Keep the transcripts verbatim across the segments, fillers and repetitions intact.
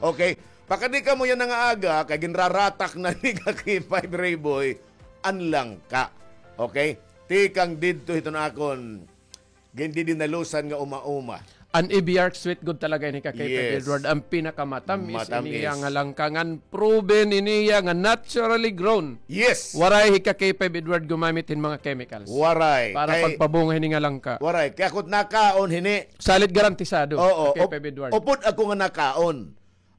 Okay? Pakadi kamo yana nga aga, kay ginraratak na ni ka K five Rayboy an langka. Okay? Tikang didto hiton akon gindidinalusan nga uma-uma. An Eviarc Sweet Gold talaga ini ka K five Yes. Edward, an pinakamatamis Matamis. iniya nga langka, ngan proven iniya nga naturally grown. Yes. Waray hi ka K five Edward gumamit hin mga chemicals. Waray. Para Kay pagpabunga hini nga langka. Waray. Kay ako nakaon hini. Salit garantisado Oo, ka K five op-, Edward. upod ako nga nakaon.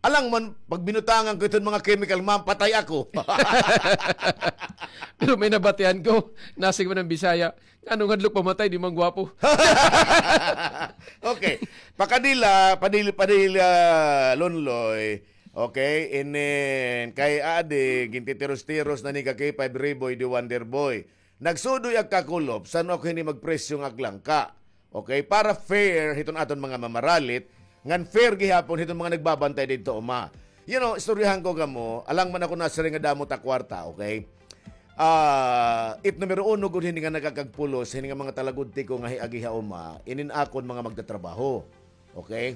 Alang man, pag binutangan ko iton mga chemical, mapatay ako. Pero may nabatian ko, nasig man an Bisaya, "Nganong hadlok pamatay, di man gwapo." Okay. Pakadila, padil-, padila, Lonloy. Okay, inin, kay adi, gintitiros-tiros na ni ka K five Rayboy, the Wonder Boy. Nagsudoy ak kakulop, san-o ako hini magpresyo nga ak langka. Okay, para fair hiton aton mga mamaralit, ngan fair gihapon hiton mga nagbabantay didto, uma. You know, istoryahan ko kamo, alang man ako nasiring nga damo ta kwarta, okay? Ah, it numero uno gud hini nga nakakagpulos, hini nga mga talagudti ko nga hiagi ha uma, inin akon mga magtatrabaho. Okay?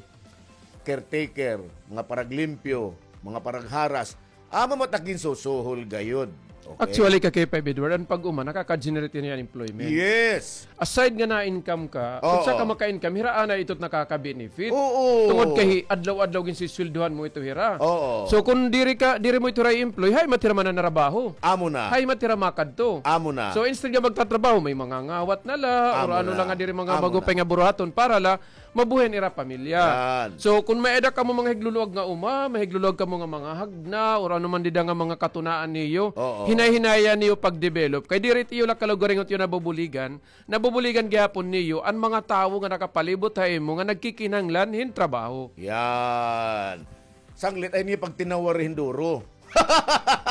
Caretaker, mga paraglimpyo, mga paragharas. Amo man ta ginsusuhol gayod. Okay? Actually, ka K five Edward, an pag-uma, nakaka-generate niya employment. Yes. Aside nga na-income ka, Oo. kung sa ka maka-income, hira anay ito nakaka-benefit. Oo. Tungod kay adlaw-adlaw ginsisweldohan mo ito hira. Oo. So, kung diri ka, diri mo ito hira i-employ, hay man hira mananarabaho. Amo na. Hay man hira makadto. Amo na. So, instead nga magtatrabaho, may mga ngawat na la, or Amo ano na. la nga diri mga Amo na. magupay nga buruhaton para la mabuhi an ira pamilya. Yan. So, kung may-ada kamo mga higluluag nga uma, may higluluag kamo nga mga hagna, or ano man dida nga mga katunaan niyo, Oo. hinay-hinaya niyo pag-develop. Kay diri it iyo la kalugaringon it iyo nabubuligan, nabubuligan gihapon niyo an mga tawo nga nakapalibot ha imo nga nagkikinahanglan hin trabaho. Yan. Sanglit, ay niyo pagtinawar hin duro.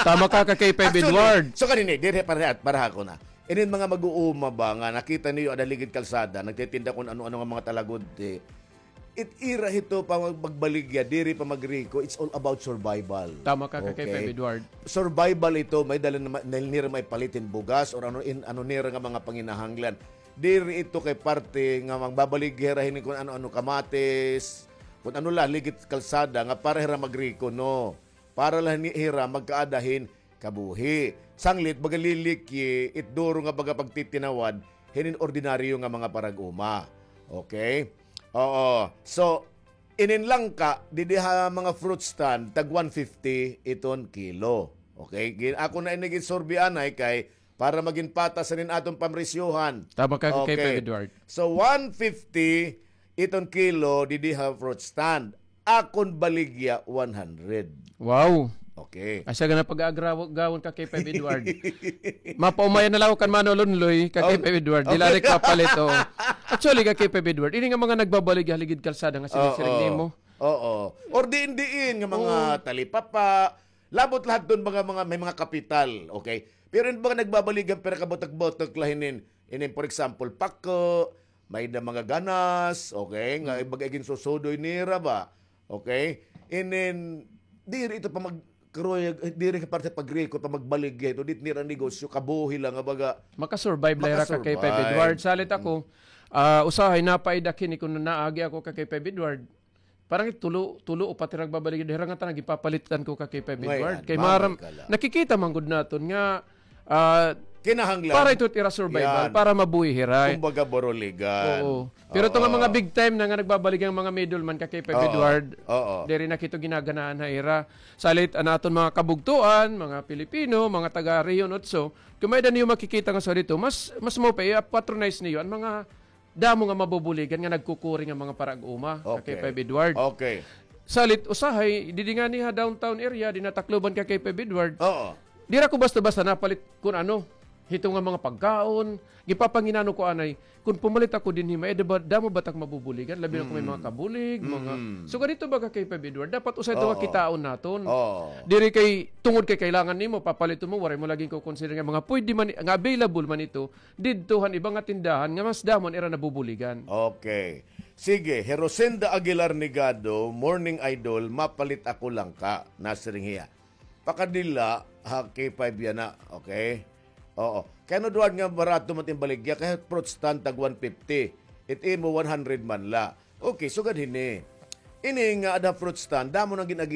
Tama ka, ka K five Actually, Edward. so kanini, diri, para, para ako na. Inin mga mag-uuma ba nga nakita niyo ada ligid kalsada, nagtitinda kun ano-ano nga mga talagudti. It ira hito pa mag-, magbaligya, diri pa magriko, it's all about survival. Tama ka, ka Okay. K five Edward. Survival ito, may dala na ma-, na nira may palit hin bugas or ano in, ano nira nga mga panginahanglan. Diri ito kay parte nga magbabaligya hira hini kun ano-ano kamatis, kun ano la, ligid kalsada nga para hira magriko, no. Para la ni hira magkaada hin kabuhi. Sanglit, baga lilikyi, it duro nga baga pagtitinawad, hinin ordinaryo nga mga parag-uma. Okay? Oo. So, inin langka, didi ha mga fruit stand, tag one fifty iton kilo. Okay? Gin-, ako na ini ginsurvey anay kay para magin patas inin aton pamresyohan. Tama ka, Okay. K five Edward. So, one fifty iton kilo, didi ha fruit stand. Akon baligya, one hundred. Wow. Okay. Asa ka na pag-aagraw-, gawon ka, K five Edward? Mapaumayan na la ako kan Mano Lonloy, ka Oh. K five Edward. Di la Okay. rin papalit, oh. Actually, ka K five Edward, ini nga mga nagbabaligya ha ligid kalsada nga sinisiring Oo. nimo. Oo. Or diin-diin nga mga Oo. talipapa, labot lahat doon mga, mga, may mga kapital, okay? Pero in mga nagbabaligya, pero kabutak-butak la hinin, inin, for example, pako, may da mga ganas, okay? Nga Mm. ibaga ginsusudoy nira ba? Okay? Inin, diri ito pa mag-, karoy, diri ka parte pagriko, pa magbaligya ito, dit nira negosyo, kabuhi la nga baga. Makasurvive la hira ka kay Makasurvive. Feb Edward. Salit ako, Mm. ah, usahay napaidak hini kun naagi ako ka kay Feb Edward. Parang tulo, tulo, upat hira nagbabaligya, hira nga tanan gipapalitan ko ka kay Feb Edward. Kay maram, nakikita man gud naton nga, ah, kinahanglan para ito ira survival, para mabuhi hira. Kumbaga, buruligan. Oo. Pero ito nga mga big time na nga nagbabaligya nga mga middleman ka kay Feb Edward, diri na kito ginaganahan ha ira. Salit an aton mga kabugtoan, mga Pilipino, mga taga Rehiyon Otso, kun may-ada niyo makikita nga sa dito, mas, mas mo pa i-patronize niyo an mga damo nga mabubuligan nga nagkukuri nga mga parag-uma ka kay Feb Edward. Okay. Salit usahay, didi ngani ha downtown area, didi ha Tacloban ka kay Feb Edward. Oo. Dira ko basta-basta napalit kun ano, hito nga mga pagkaon, gipapanginano ko anay, kun pumalit ako dinhi, may-ada ba, damo ba tak mabubuligan, labi na kun may mga kabulig, mga, so ganito ba ka kay Feb Edward, dapat usahay ito nga kitaon naton. Oo. Diri kay, tungod kay kailangan nimo, papalit mo, waray mo lagi ko consider nga mga pwede man, nga available man ito, didto han iba nga tindahan nga mas damo an ira nabubuligan. Okay. Sige, Herosenda Aguilar Nigado, morning idol, mapalit ako langka, nasiring hiya. Pakadila, ha, K five yana, okay? Oo. Kay ano, Edward, nga barato man it im baligya, kay fruit stand tag one fifty. It imo one hundred man la. Okay, sugad hini. Ini nga ada fruit stand, damo nang gin-agi